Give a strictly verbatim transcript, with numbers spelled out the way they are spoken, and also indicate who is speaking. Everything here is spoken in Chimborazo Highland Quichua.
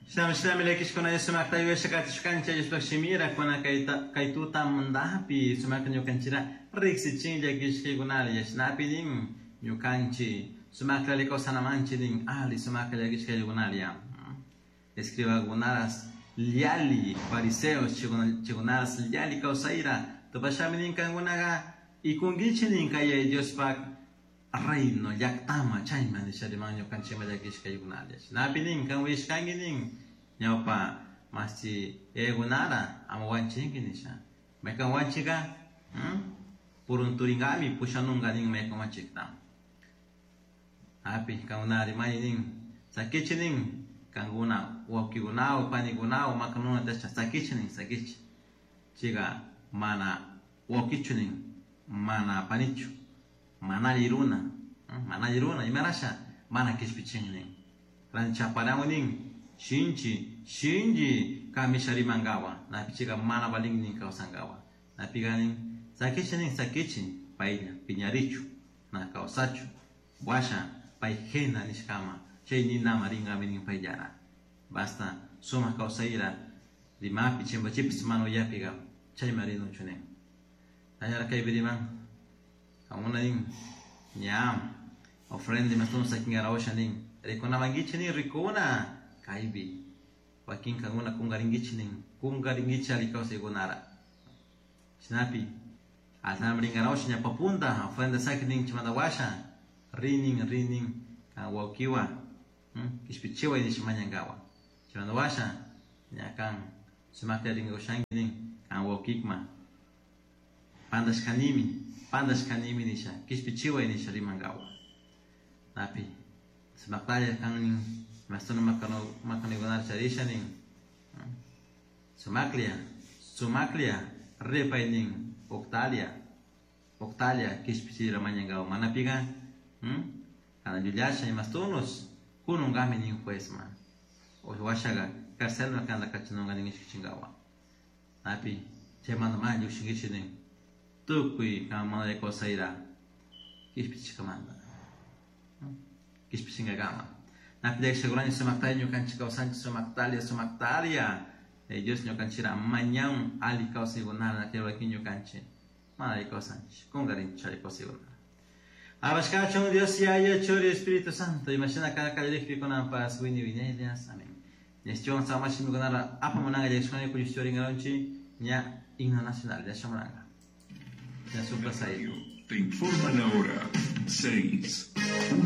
Speaker 1: Shinami llakishkuna sumakta yuyashakatishkanchik Diospaq shimira kuna kayta kay tutamantapi sumakta ñukanchira riqsichin llakishkaykunalla shinapi nin ñukanchik sumakta alli kawsanamanchik nin ali sumakta llakishkaykunalla escribakunaras yalli fariseos chaykunaras yalli kawsayra tupashami nin kankunaqa ikunkichik nin kay Diospaq reino llaqtama chayman nisha riman ñukanchikma llakishkaykunalla shinapi nin kan uyashkanki nin ñawpa mashi yayakunara ama wanchinki nisha maykan wanchika purunturingami pushanunka nin maykan wanchikta api kankuna rimani nin sakichik nin kankuna wawkikunawan panikunawan makanuna tiyashka sakichik nin sakichik chayka mana wawkichu nin mana panichu mana alli runa mana alli runa imarasha mana kishpichin nin ranchaparawan nin shinchi shinchi kamisha rimankawa napi chayka mana valin nin kawsankawa napika nin sakichik nin sakichik paylla piñarichu na kawsachu washa pay gehena nishkama chay ninama rinkami nin payllara basta sumak kawsayra rimapi chimpachipis mana uyapika chayma rinuchu nin allara kaypi riman kankuna nin ña ofrenda imastun sakinkarawasha nin rikunamankichik nin rikuna kaypi wakin kankuna kunkarinkichik nin kunkarinkichik alli kawsaykunara shinapi altarman rinkarawasha ñawpa punta ofrenda saki nin chaymanta washa rinin rinin kan wawkiwan kishpichiway nisha mañankawa chaymanta washa ña kan sumakta rinkakushanki nin kan wawkikman pantashkanimi pantashkanimi nisha kishpichiway nisha rimankawa napi sumaktalla kan nin imastuna makanuykunata charisha nin sumaklla sumaklla ripay nin uqtalia uqtalia kishpichira mañankawa manapika kana llullasha imastunus kununkami nin juezman washaka carcelman kanta kachanunka nin ishkichinkawa napi chaymanta mana llukshinkichik nin tukuy kan mana kawsayra kishpichishkamanta kishpichinkakama napi llakishakurani sumaktalla ñukanchik kawsanchik sumaktalia sumaktalia Dios ñukanchikra mañan alli kawsaykunata wakin ñukanchik mana alli kawsanchik kunkarinchik alli kawsaykunata Alabashkachun Dios Yaya Churi Espíritu Santo imashina kallarikpi kunanpas wini wiñaylias amén Ñashtiwan samash shimikunara apamunanka llakishkuna kuyushtiwarinkaronchik ña himno nacional ña shamunanka ña suplasay
Speaker 2: Te informa la hora seis, uno.